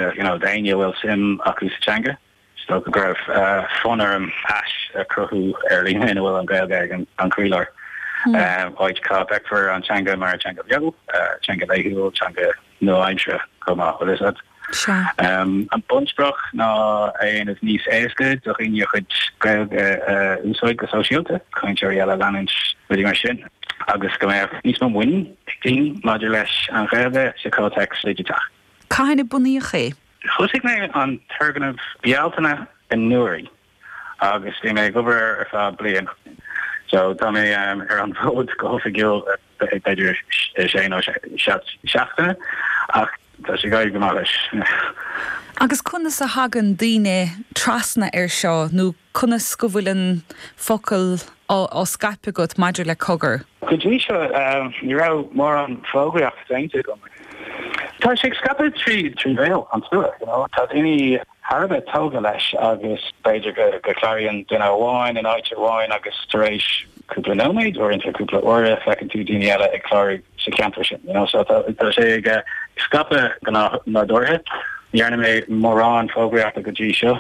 You know, d'éinne a bhfuil suim acu sa teanga, is dócha go raibh fonn orm áis a chruthú ar líne ina bhfuil an Ghaeilge ag an chroílár. Áit cá bhfeicfear an teanga mar teanga bheo, teanga laethúil, teanga nua-aimseartha chomh maith, bhfuil fhios agat. An bunsprioc ná é a dhéanamh níos éasca do dhaoine a chuid Gaeilge a úsáid go sóisialta, cainteoirí eile a leanúint, rudaí mar sin, agus go mbeadh níos mó muinín ag daoine maidir leis an Ghaeilge sa chomhthéacs digiteach. Cathain a bunaíodh é? Thosaigh mé an turgnamh Bealtaine anuraidh agus bhí mé ag obair air ar feadh bliain. So tá mé ar an bhfód go hoifigiúil b'fhéidir sé nó seacht seachtaine ach tá sé ag éirí go maith leis. Agus conas a thagann daoine trasna air seo nó Conas go bhfuil an focal á scaipeadh agat maidir le Cogar? Go dtí seo, ní raibh mórán fógraíocht déanta agam. Tá sé ag scaipeadh trí bhéal an tslua, you know. Tá daoine thar a bheith tógtha leis agus b'fhéidir go gcláraíonn duine amháin in áit amháin agus tar éis cúpla nóiméad, uaireanta cúpla uaire, feiceann tú daoine eile ag clárú sa cheantar sin, you know. So tá sé ag scaipeadh go nádúrtha. Ní dhearna mé mórán fógraíochta go dtí seo.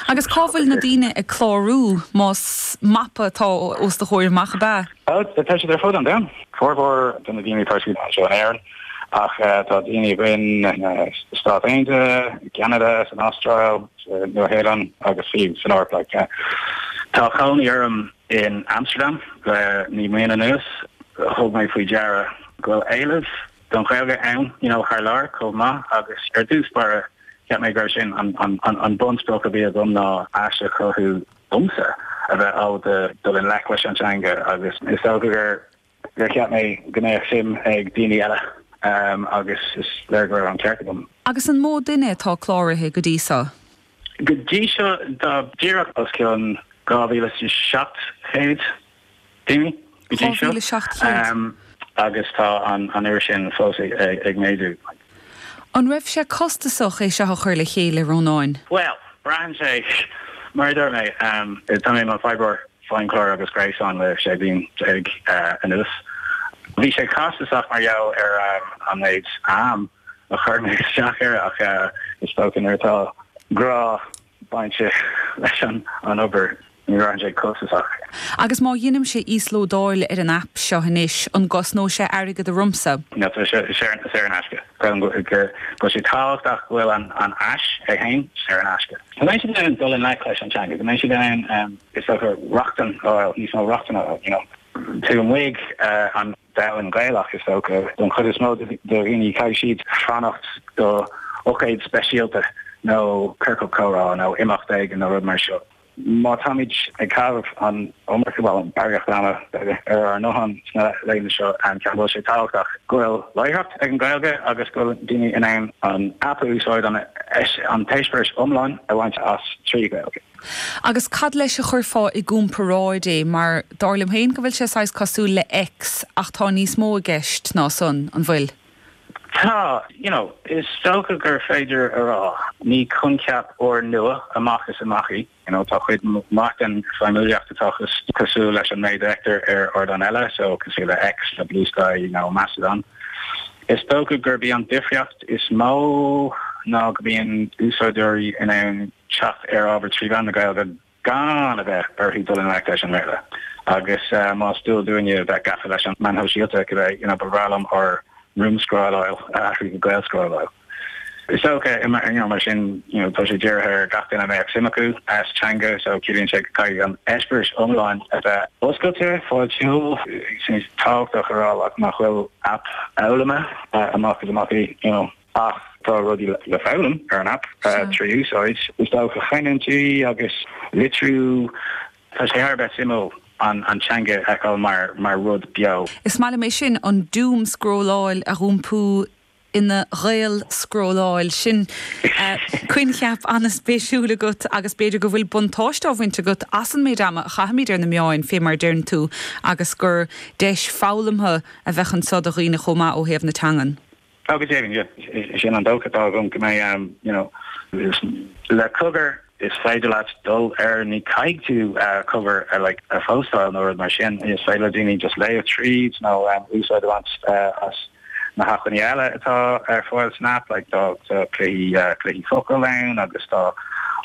Agus cá bhfuil na daoine ag clárú, más mapa atá os do chomhair amach, ab ea? Tá siad ar fud an domhain. Formhór de na daoine tá siad anseo in Éirinn, ach tá daoine againn sna Stáit Aontaithe, i gCeanada, san Astráil, sa Nua-Shéalainn agus fiú san Eoraip. Like, tá cónaí orm in Amsterdam le 9 mbliana anuas. Thug mé faoi deara go bhfuil éileamh don Ghaeilge ann you know thar lear chomh maith agus ar dtús báire cheap mé go raibh sin an an an bunsprioc a bhí agam ná áis a chruthú domsa a bheith ábalta dul i ngleic leis an teanga agus is dócha gur gur cheap mé go mbeadh suim ag daoine eile agus is léir go raibh an ceart agam. Agus an mó duine atá cláraithe go dtí seo? Go dtí seo tá díreach os cionn 2,700 daoine go dtí seo 2,700? agus tá an uimhir sin fós ag méadú. An raibh sé costasach é seo a chur le chéile, Rónáin? Bhuel, braitheann sé, mar a dúirt mé, tá mé i mo oibreoir feidhmchlár agus gréasáin le 16 bliain anuas. Bhí sé costasach mar gheall ar an méid am a chuir mé isteach air ach is dócha nuair atá grá bainte leis an obair, ní bhraitheann sé costasach. Agus má dheinimse íoslódáil ar an aip seo anois, an gcosnóidh sé airgead ormsa? Níl, tá sé saor in aisce. Creidim go bhfuil sé tábhachtach go bhfuil an áis é féin saor in aisce. Go mbeidh siad in ann dul i ngleic leis an teanga, go mbeidh siad in ann, is dócha, rochtain a fháil, níos mó rochtana a fháil, you know. Taobh amuigh an domhan Gaelach, is dócha, don chuid is mó de dhaoine, caithfidh siad fanacht do ócáid speisialta nó ciorcal comhrá nó imeacht éigin nó rud mar seo. Má táimid ag caitheamh an iomarca, bhuel, an barraíocht ama, b'fhéidir, ar ár ngutháin sna laethanta seo, ceapaim go bhfuil sé tábhachtach go bhfuil láithreacht ag an Ghaeilge agus go bhfuil daoine in ann an aip a úsáid, an t-eispéireas iomlán a bhaint as trí Ghaeilge. Agus cad leis a chuirfeá i gcomparáid é? Mar dar liom féin go bhfuil sé saghas cosúil le X ach tá níos mó i gceist ná san, an bhfuil? Tá, you know, is dócha gur féidir a rá. Ní coincheap úrnua amach is amach í, you know, tá cuid mhaith den feidhmiúlacht atá cosúil leis an méid a fheictear ar ardáin eile, so cosúil le X, le Bluesky nó Mastodon. Is dócha gurb í an difríocht is mó ná go mbíonn úsáideoirí in ann teacht ar ábhar trí mheán na Gaeilge gan a bheith orthu dul i ngleic leis an mBéarla. Agus más dual dúinne a bheith gafa leis an meáin shóisialta, cibé, you know, ba bhreá liom ár ndúmscrolláil a athrú go Gaelscrolláil. Is dócha, you know, mar sin, you know, tá sé dírithe ar gach duine a mbeadh suim acu sa teanga, so ciallaíonn sé go gcaithfidh an eispéireas iomlán a bheith oscailte, fáiltiúil. Is tábhachtach a rá like, nach bhfuil aip foghlama amach is amach í, you know. Ach tá rudaí le foghlaim ar an aip trí úsáid. Is dócha canúintí agus litriú. Tá sé thar a bheith suimiúil an teanga a fheiceáil mar rud beo. Is maith liom é sin, an doom-scrolláil a dh'iompú ina Ghaelscrolláil. Sin coincheap an-spéisiúil agat agus b'fhéidir go bhfuil buntáiste á bhaint agat as an méid ama a chaithimid ar na meáin, fé mar a deireann tú, agus gur deis foghlamtha a bheadh anso do dhaoine chomh maith ó thaobh na teangan. Tá go deimhin, yeah. Sin an dócha atá agam go mbeidh, you know, le Cogar is féidir leat dul air, ní caithfidh tú Cogar a like a phóstáil nó rud mar sin, is féidir le daoine just léamh tríd nó úsáid a bhaint as. Na hacmhainní eile atá ar fáil san aip, like tá cluichí, cluichí focal ann agus tá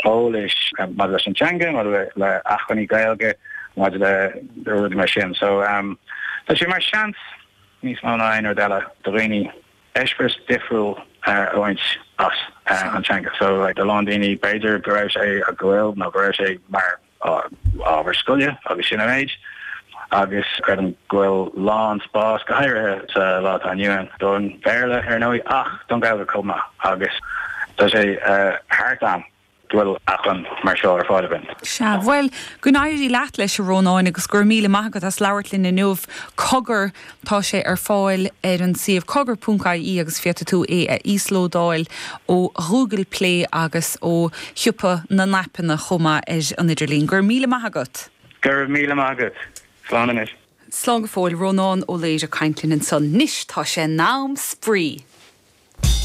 eolais maidir leis an teanga, maidir le acmhainní Gaeilge, maidir le rudaí mar sin. So tá sé mar seans níos mó ná aon rud eile do dhaoine eispéireas difriúil a bhaint as an teanga. So like do a lán daoine b'fhéidir go raibh sé go bhfuil nó go raibh sé mar ábhar scoile agus sin an méid agus creidim go bhfuil lán spás, go háirithe sa lá atá inniu ann, don Bhéarla ar ndóigh ach don Ghaeilge chomh maith agus tá sé thar am go bhfuil acmhainn mar seo ar fáil againn. Sea, bhuel, go n-éirí leat leis, a Rónáin, agus go raibh míle maith agat as labhairt linn inniu. Cogar, tá sé ar fáil ar an suíomh cogar.ie agus féadfaidh tú é a íoslódáil ó Ghoogle Play agus ó shiopa na n-aipeanna chomh maith ar an idirlíon. Go raibh míle maith agat! Go raibh míle maith agat. Slán anois. Slán go fóill. Rónán Ó Laoire ag caint linn ansan. 'Nois tá sé in am spraoi!